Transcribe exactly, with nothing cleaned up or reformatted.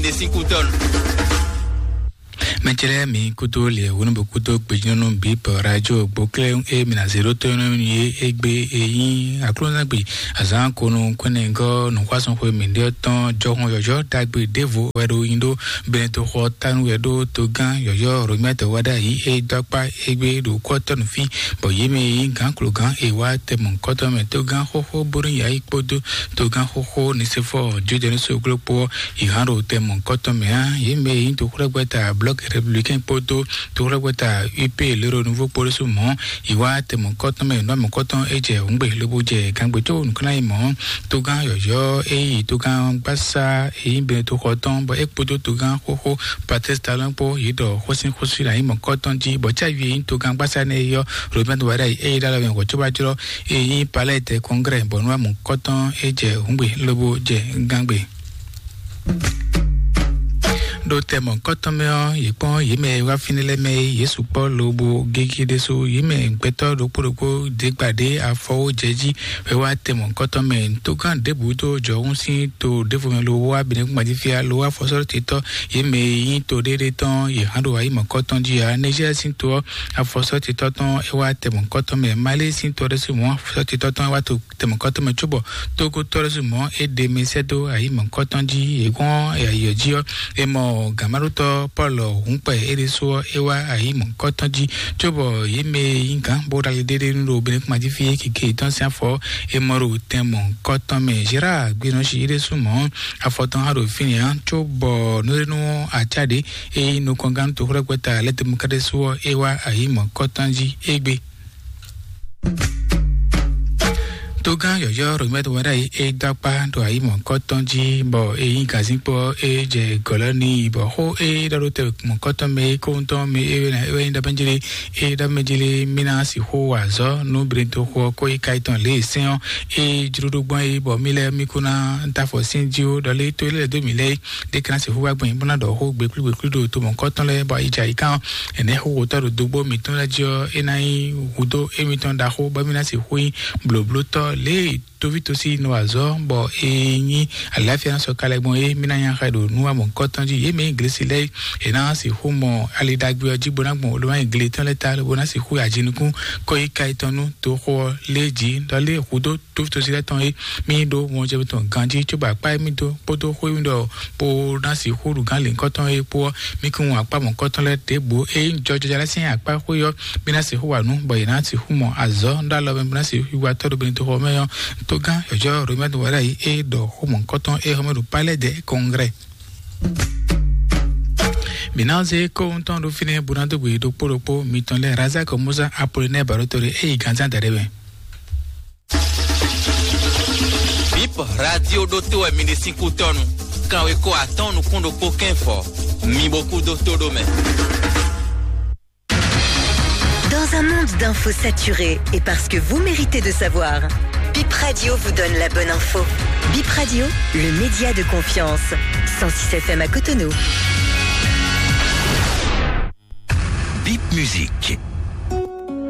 Ɖe sín kútɔ́nu. Mɛtɛlɛ mi kútó lɛ wónú bó kútó gbejínɔnú bí bɔ radio gbóklé e mi na zéro tó nɔ mi é égbé eyín aklúnzágbé azán konu kwɛnɛgɔ nùxwásɔnxwe mi ɖe tɔn jɔhɔn yɔyɔ dagbe devo wɛ ɖo yin ɖo bɛn to xɔ tanu wɛ ɖo togán yɔyɔ romɛtɔ wɛ ɖa yi e dɔkpa égbé ɖo kɔtɔnu fi bɔ yé mɛ yi gán klogán e wá tɛmɔ kɔtɔ mɛ togán xóxó bónú yayi kpódó togán xóxó nisefɔ jojɛnu soglo kpó ìhán ɖo tɛmɔ kɔtɔn mɛ á. Yě mɛ e nyí toxlɛ́gbɛ́ta Bloc Républicain kpódó toxlɛ́gbɛ́ta U P lérò nouveau kpódó sú mɔ̌, yi wá tɛmɔ kɔtɔn mɛ nɔ́ mɔ kɔtɔn é jɛ hǔngbe lobo jɛ gangbe tó nǔkánná yi mɔ̌. Togán yɔ̌yɔ́ e yi togán gbásá e nyí Benetoxɔ tɔn bɔ é kpódó togán xóxó Patrice Talon kpó yě ɖɔ xósin xósin ná yi mɔ kɔtɔn jí bɔ cávi e nyí togán gbásá nɛ́ yɔ́ Robert Wada yi é yi ɖó alɔ mɛ hwɛ̌cóbájlɔ́ e nyí Palais des Congrès bɔ nú amǔ kɔtɔn é jɛ hǔngbe lobo jɛ gangbe. Ɖo tɛmɔ kɔtɔn mɛ ɔ́, yě kpɔ́n yě mɛ e wá fínɛ́ lɛ́ɛ mɛ é, yě sukpɔ́ lobo gégé ɖésú. Yě mɛ gbɛtɔ́ ɖokpó ɖokpó ɖěgbà ɖé afɔ wó jɛ jí wɛ wá tɛmɔ kɔtɔn mɛ. Togán ɖěbǔ dó jɔhún sín to ɖěvo mɛ lo wá Benɛkúngban jí fíá lo wá fɔsɔ́ titɔ́ yě mɛ e nyí to ɖéɖé tɔn yě hán ɖo ayǐ mɔ̌kɔtɔn jí ǎ. Nɛzíɛ sín to ɔ́, afɔsɔ́ titɔ́ tɔn é wá tɛmɔ kɔtɔn mɛ. Malée sín to ɖésú mɔ̌ afɔsɔ́ titɔ́ tɔn é wá to tɛmɔkɔtɔn mɛ cóbɔ Togo tɔ́ ɖésú mɔ̌ é ɖe mɛ sɛ́ dó ayǐ mɔ̌kɔtɔn jí. Yě gɔ́n ayǐyɔ jí ɔ́, è mɔ gǎnmaɖótɔ́ Pɔ́lu hǔnkpɛ é ɖésú ɔ́, é wá ayǐ mɔ̌kɔtɔn jí cóbɔ yě mɛ e nyí gǎn bó ɖo ali ɖéɖé nú ɖo Benɛkúngban jí fí é kike yětɔn sín afɔ é mɔ ɖo tɛn mɔ̌kɔtɔn mɛ. Zerá Gbénɔ́si é ɖésú mɔ̌ afɔ tɔn há ɖo fínɛ́ ǎ cóbɔ nǔɖénú acá ɖě e nyí nukɔngán toxlɛ́gbɛ́ta lɛ́ demɔkáɖésú ɔ́, é wá ayǐ mɔ̌kɔtɔn jí égbé. Togán yɔ̌yɔ́ Romɛ́t Wɛɖáyi é dó akpá ɖo ayǐ mɔ̌kɔtɔn jí bɔ é nyí gǎnzínkpɔ́ é jɛ gɔ̌lɔ́ n'i bɔ xó é ɖɔ ɖó tɛ mɔ̌kɔtɔn mɛ é kóhun tɔn mɛ é wɛ nyí ɖɔ mɛ jlé é ɖɔ mɛ jlé mí ná sixú wa azɔ̌ nú Benɛtoxo ɔ́ kó yi ka yětɔn lě e sɛ́n ɔ́ é jló ɖó gbɔn é bɔ mí lɛ́ɛ mí kó ná da afɔ sín jí ó ɖɔ lé tó é lɛ́ dó mǐ lɛ́ɛ é ɖé ká ná sixú wá gbɔn bó ná ɖɔ xó gběklúgběklú ɖo to mɔ̌kɔtɔn lɛ́ɛ bɔ ayi jɛ ayǐká ɔ́. Ɛnɛ́ xó wǒtɔ́ ɖo dógbó mǐtɔn lɛ́ɛ jí ɔ́, é ná nyí hudó émítɔn ɖaxó bɔ mí ná sixú nyí blǒblótɔ́ lě e tóví tosí nɔ azɔ̌ bɔ è nyí aláfíà ná sɔ́ ka lɛ́ gbɔn é mí ná nya xɛ ɖo nú amɔ̌kɔ́tɔn jí. Yě mɛ nyí glesi lɛ́ɛ è ná sixú mɔ ali ɖagbe ɔ́ jí bó ná gbɔn olóma nyi gle tɔn lɛ́ɛ ta bó ná sixú yi ajinukún kɔ́ yi ka yětɔn nú toxo ɔ́ lé jí ɖɔ lé hudó tóví tosí lɛ́ɛ tɔn é mí ɖó mɔjɛmɛ tɔn ganjí cóbɔ akpá émí dó kpódó xó émí ɖɔ bó ná sixú ɖu gán lěhunkɔtɔn é kpó ɔ́, mí kún akpá mɔ̌kɔtɔn lɛ́ɛ ɖěbǔ é nyí jɔjɔjɔ lɛ́ɛ sín akpá xwé ɔ́, mí ná sixú wa nǔ bɔ yě ná sixú mɔ azɔ̌ ɖó alɔ mɛ bó ná sixú yi wa tɔ́ ɖo Benɛtoxo mɛ ɔ́. Togán yɔ̌jɔ́ Romɛ́t Wɛɖáyi é ɖɔ xó mɔ̌kɔtɔn é xɔmɛ ɖo Palais des Congrès. Mǐ ná zé kóhun tɔn ɖó fínɛ́ bó ná dó gbe ɖokpó ɖokpó mitɔn lɛ́ɛ Razak Musa Apolinɛ́ɛ Barotore é yi gǎnzán daɖé mɛ. Bip radio ɖótó wɛ mi ɖe sín kútɔ́nu. Kanwekó atɔ́ɔ́n nukún ɖokpó kɛ́nfɔ. Mi bo kú dó tó ɖó mɛ. Dans un monde d'infos saturées et parce que vous méritez de savoir, Bip Radio vous donne la bonne info. Bip Radio, le média de confiance. Cent six F M à Cotonou. Bip Musique.